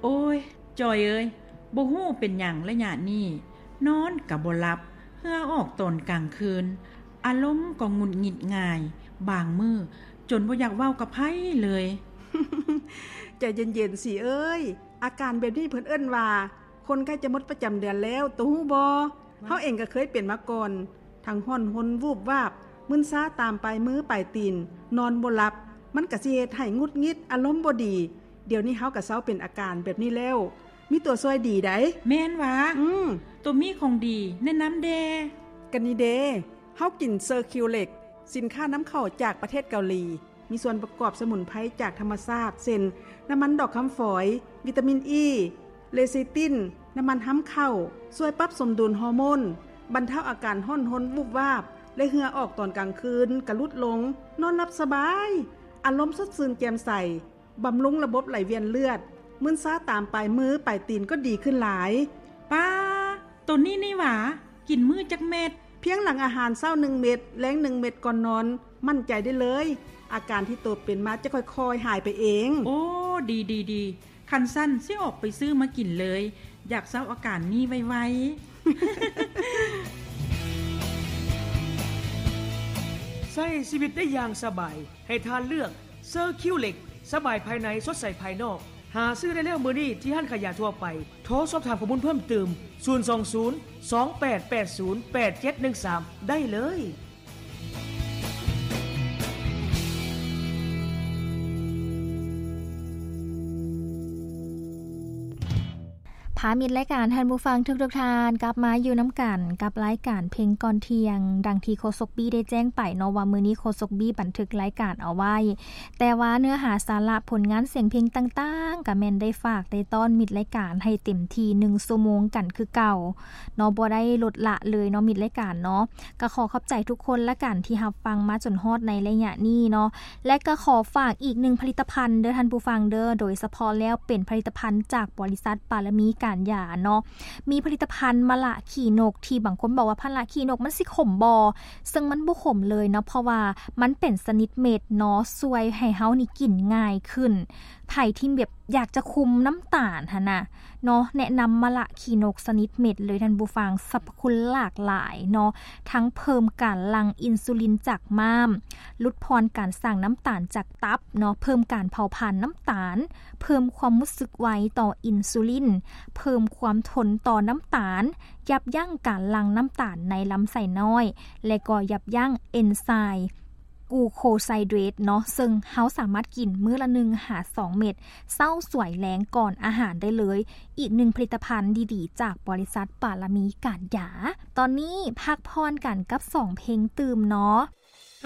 ໂອ້ຍ ຈອຍເອີຍ, ບໍ່ຮູ້ເປັນຫຍັງໄລຍະນີ້ ນອນກະບໍ່ຫຼັບ, ເຫື່ອອອກຕອນກາງຄືນ, ອາລົມກໍຫງຸດຫງິດງ່າຍ, ບາງມື້ຈົນບໍ່ຢາກເວົ້າກັບໃຜເລີຍ. ໃຈເຢັນໆ ສີເອີຍ, ອາການແບບນີ້ເພິ່ນເອີ້ນວ່າ ຄົນໃກ້ຈະໝົດປະຈຳເດືອນແລ້ວ, ໂຕຮູ້ບໍ່? ເຮົາເອງກໍເຄີຍເປັນມາກ່ອນ, ທັງຮ້ອນຮົນວູບວາບ, ມຶນຊາຕາມປາຍມືປາຍຕີນ, ນອນບໍ່ຫຼັບ, ມັນກໍຊິເຮັດໃຫ້ຫງຸດຫງິດ, ອາລົມບໍ່ດີ. ດຽວນີ້ເຮົາກໍເຊົາເປັນອາການແບບນີ້ແລ້ວ. ມີຕົວຊ່ວຍດີໃດ໋. ແມ່ນຫວາ? ອືມ. ໂຕມີຂອງດີແນະນຳແດ່. ກໍນີ້ເດ, ເຮົາກິນເຊີຄິວເລັກ, ສິນຄ້ານຳເຂົ້າຈາກປະເທດເກົາຫຼີ, ມີສ່ວນປະກອບສະໝຸນໄພຈາກທຳມະຊາດ ເຊັ່ນ ນ້ຳມັນດອກຄຳຝອຍ, ວິຕາມິນອີ, ເລຊິຕິນ, ນ້ຳມັນຮຳເຂົ້າ, ຊ່ວຍປັບສົມດຸນຮໍໂມນ, ບັນເທົາອາການຮ້ອນຮົນວູບວາບ ແລະ ເຫື່ອອອກຕອນກາງຄືນກະຫຼຸດລົງ, ນອນຫຼັບສະບາຍ, ອາລົມສົດຊື່ນແຈ່ມໃສ, ບຳລຸງລະບົບໄຫຼວຽນເລືອດ, ມຶນຊາຕາມປາຍມືປາຍຕີນກໍດີຂຶ້ນຫຼາຍ. ປ້າ, ໂຕນີ້ນີ້ຫວາ? ກິນມື້ຈັກເມັດ? ພຽງຫຼັງອາຫານເຊົ້າໜຶ່ງເມັດ, ແລງໜຶ່ງເມັດກ່ອນນອນ, ໝັ້ນໃຈໄດ້ເລີຍ, ອາການທີ່ໂຕເປັນມາຈະຄ່ອຍໆຫາຍໄປເອງ. ໂອ້ ດີໆໆ, ຄັນຊັ້ນຊິອອກໄປຊື້ມາກິນເລີຍ, ຢາກເຊົາອາການນີ້ໄວໆ. ໃຊ້ຊີວິດໄດ້ຢ່າງສະບາຍ, ໃຫ້ທ່ານເລືອກ ເຊີຄິວເລັກ, ສະບາຍພາຍໃນ ສົດໃສພາຍນອກ. ຫາຊື້ໄດ້ແລ້ວມື້ນີ້ທີ່ຮ້ານຂາຍຢາທົ່ວໄປ. ໂທສອບຖາມຂໍ້ມູນເພີ່ມຕື່ມ ສູນສອງສູນ ສອງແປດແປດສູນ ແປດເຈັດໜຶ່ງສາມ ໄດ້ເລີຍ. ພາມິດລາຍການທ່ານຜູ້ຟັງທຸກໆທ່ານ ກັບມາຢູ່ນຳກັນກັບລາຍການເພງກ່ອນທ່ຽງ. ດັ່ງທີ່ໂຄສົກບີ້ໄດ້ແຈ້ງໄປເນາະ ວ່າມື້ນີ້ໂຄສົກບີ້ບັນທຶກລາຍການເອົາໄວ້, ແຕ່ວ່າເນື້ອຫາສາລະຜົນງານສຽງເພງຕ່າງໆ ກະແມ່ນໄດ້ຝາກໄດ້ຕ້ອນມິດລາຍການໃຫ້ເຕັມທີ່ໜຶ່ງຊົ່ວໂມງກັນຄືເກົ່າເນາະ, ບໍ່ໄດ້ລົດລະເລີຍເນາະ ມິດລາຍການເນາະ. ກະຂໍຂອບໃຈທຸກຄົນລະກັນທີ່ຮັບຟັງມາຈົນຮອດໃນໄລຍະນີ້ເນາະ. ແລະ ກໍຂໍຝາກອີກໜຶ່ງຜະລິດຕະພັນເດີທ່ານຜູ້ຟັງເດີ, ໂດຍສະເພາະແລ້ວເປັນຜະລິດຕະພັນຈາກບໍລິສັດປາລະມີການຢາເນາະ. ມີຜະລິດຕະພັນມະລະຂີ້ນົກ ທີ່ບາງຄົນບອກວ່າ ມະລະຂີ້ນົກມັນຊິຂົມບໍ່? ເຊິ່ງມັນບໍ່ຂົມເລີຍເນາະ, ເພາະວ່າມັນເປັນຊະນິດເມັດເນາະ, ຊ່ວຍໃຫ້ເຮົານີ້ກິນງ່າຍຂຶ້ນ. ໃຜທີ່ແບບຢາກຈະຄຸມນ້ຳຕານຫັ້ນນະ ເນາະ ແນະນຳມະລະຂີ້ນົກຊະນິດເມັດເລີຍທ່ານຜູ້ຟັງ. ສັບພະຄຸນຫຼາກຫຼາຍເນາະ, ທັງເພີ່ມການຫຼັ່ງອິນຊູລິນຈາກມ້າມ, ຫຼຸດຜ່ອນການສ້າງນ້ຳຕານຈາກຕັບເນາະ, ເພີ່ມການເຜົາຜານນ້ຳຕານ, ເພີ່ມຄວາມຮູ້ສຶກໄວຕໍ່ອິນຊູລິນ, ເພີ່ມຄວາມທົນຕໍ່ນ້ຳຕານ, ຢັບຢັ້ງການຫຼັ່ງນ້ຳຕານໃນລຳໄສ້ນ້ອຍ ແລະ ກໍຍັບຢັ້ງເອັນໄຊ ກູໂຄໄຊເດຣດເນາະ, ເຊິ່ງເຮົາສາມາດກິນມື້ລະໜຶ່ງຫາສອງເມັດ ເຊົ້າສວຍແລງກ່ອນອາຫານໄດ້ເລີຍ. ອີກໜຶ່ງຜະລິດຕະພັນດີໆຈາກບໍລິສັດປາລະມີການຢາ. ຕອນນີ້ພັກຜ່ອນກັນກັບສອງເພງຕື່ມເນາະ.